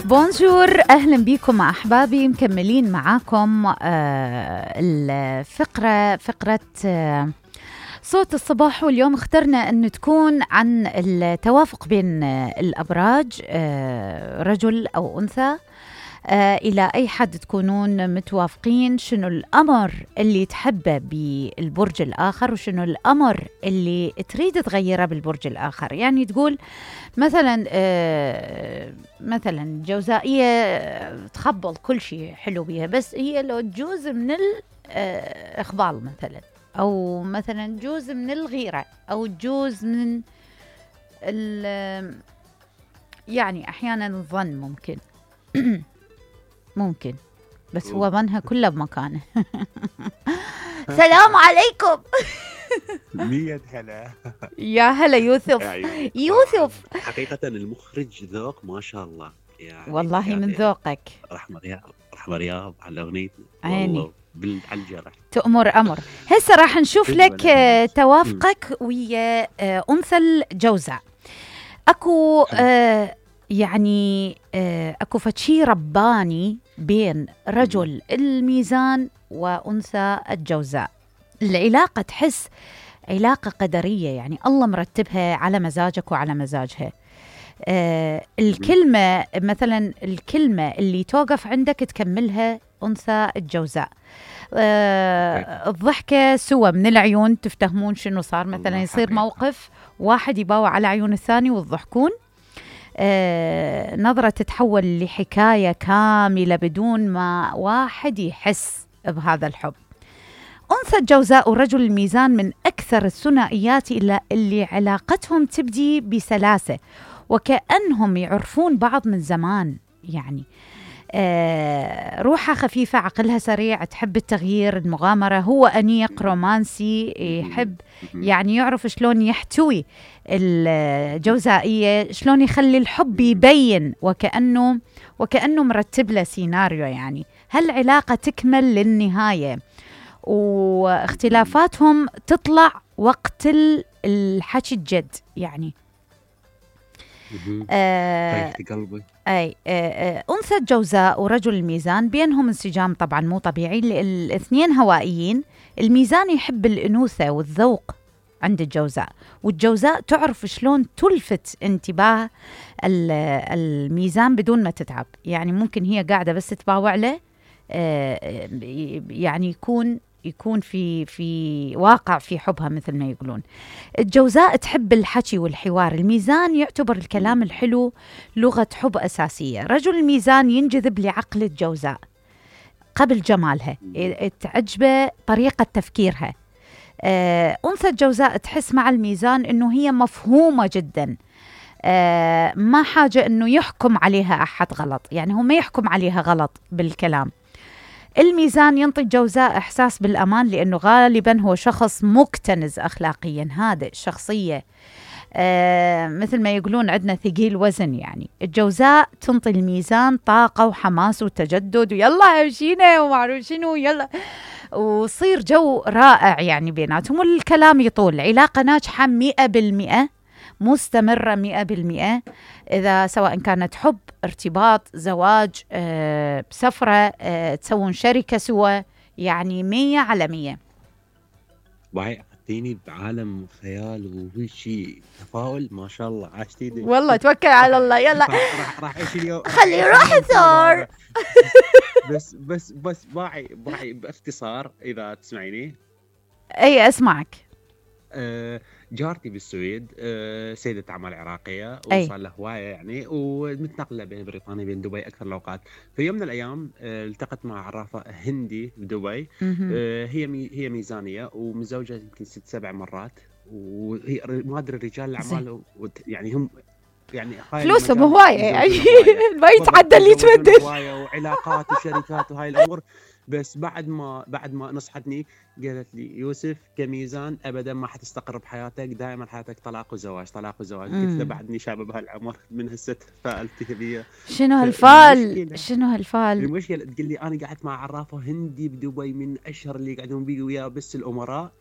بونجور، أهلا بكم أحبابي. مكملين معاكم فقرة صوت الصباح. واليوم اخترنا أن تكون عن التوافق بين الأبراج، رجل أو أنثى. إلى أي حد تكونون متوافقين؟ شنو الأمر اللي تحبه بالبرج الآخر، وشنو الأمر اللي تريد تغيره بالبرج الآخر؟ يعني تقول مثلا جوزائية تخبل كل شيء حلو بيها، بس هي لو تجوز من الإخبال مثلا، أو مثلا جوز من الغيرة، أو جوز من يعني أحيانا الظن ممكن بس هو ظنها كله بمكانه. سلام عليكم. 100 هلا. يا هلا يوسف. حقيقة المخرج ذوق ما شاء الله يعني، والله من ذوقك. رحمة رياض على أغنية عيني على الجرح. تأمر أمر. هسه راح نشوف لك توافقك ويا أنثى الجوزاء. أكو يعني أكو فشي رباني بين رجل الميزان وأنثى الجوزاء. العلاقة تحس علاقة قدرية، يعني الله مرتبها على مزاجك وعلى مزاجها. الكلمة مثلا، الكلمة اللي توقف عندك تكملها أنثى الجوزاء. الضحكة سوى من العيون، تفتهمون شنو صار. مثلا يصير موقف واحد يباوع على عيون الثاني وتضحكون. نظرة تتحول لحكاية كاملة بدون ما واحد يحس بهذا الحب. أنثى الجوزاء ورجل الميزان من أكثر الثنائيات اللي علاقتهم تبدي بسلاسة، وكأنهم يعرفون بعض من زمان. يعني روحها خفيفة، عقلها سريع، تحب التغيير، المغامرة. هو أنيق رومانسي، يحب يعني يعرف شلون يحتوي الجوزائية، شلون يخلي الحب يبين وكأنه مرتب له سيناريو. يعني هالعلاقة تكمل للنهاية، واختلافاتهم تطلع وقت الحكي الجد. يعني قلبي. أنثى الجوزاء ورجل الميزان بينهم انسجام طبعا مو طبيعي. الاثنين هوائيين. الميزان يحب الأنوثة والذوق عند الجوزاء، والجوزاء تعرف شلون تلفت انتباه الميزان بدون ما تتعب. يعني ممكن هي قاعدة بس تباوع له، يعني يكون في واقع في حبها مثل ما يقولون. الجوزاء تحب الحكي والحوار. الميزان يعتبر الكلام الحلو لغة حب أساسية. رجل الميزان ينجذب لعقل الجوزاء قبل جمالها، تعجبه طريقة تفكيرها. أنثى الجوزاء تحس مع الميزان إنه هي مفهومة جدا، ما حاجة إنه يحكم عليها أحد غلط، يعني هو ما يحكم عليها غلط بالكلام. الميزان ينطي الجوزاء إحساس بالأمان، لأنه غالبا هو شخص مكتنز أخلاقيا، هادئ، شخصية مثل ما يقولون عندنا ثقيل وزن. يعني الجوزاء تنطي الميزان طاقة وحماس وتجدد، ويلا همشينا ومعروف شنو، يلا وصير جو رائع يعني بيناتهم، والكلام يطول. علاقة ناجحة 100%، مستمرة 100%، إذا سواء كانت حب، ارتباط، زواج، سفرة، تسوون شركة سوا، يعني 100/100. وهي أخذتيني بعالم خيال وشي تفاؤل، ما شاء الله عاشتيني. والله توكل على الله. يلا راح ايش اليوم، خلي روح ثور. بس باعي باختصار اذا تسمعيني. اي اسمعك. جارتي بالسويد، سيدة أعمال عراقية، وصار لها هواية يعني، ومتنقلة بين بريطانيا بين دبي أكثر الأوقات. في يوم من الأيام التقت مع عرافة هندي بدبي. هي ميزانية ومزوجة يمكن 6-7 مرات، وهي مادر الرجال الأعمال، يعني هم يعني فلوسهم هواية، يعني ما يتعدى اللي يتبدل، هواية وعلاقات وشركات وهاي الأمور. بس بعد ما نصحتني قالت لي يوسف كميزان ابدا ما حتستقر بحياتك، دائما حياتك طلاق وزواج. قلت له بعدني شاب بهالعمر من هسه تفائلت بي. شنو هالفال؟ المشكله تقول لي انا قعدت مع عرافه هندي بدبي من اشهر اللي قاعدون بي وياه، بس الامراء